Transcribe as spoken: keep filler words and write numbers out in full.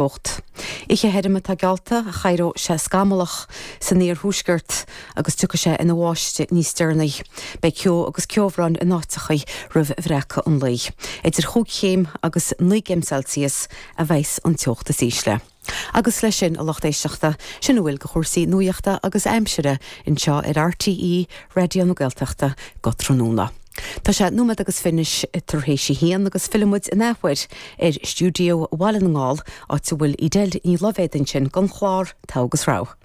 teocht. Oíche thirim atá geallta ach éireoidh sé scamallach san iarthuaisceart agus tiocfaidh sé ina bháisteach níos deireanaí. Beidh ceo agus ceobhrán in áiteachaí roimh bhreacadh an lae. Idir chúig chéim agus naoi gcéim Celsius a bheas an teocht is ísle. Agus leis sin a lucht éisteachta sin a bhfuil de chúrsaí nuachta agus aimsire anseo ar RTÉ Raidió na Gaeltachta go tráthnóna. Tá sé nóiméad agus fiche tar éis a haon agus fillfimid in athuair ar stiúideo Bhaile na nGall áit a bhfuil Edel Ní Loibhéad ansin don chlár Togha agus Rogha.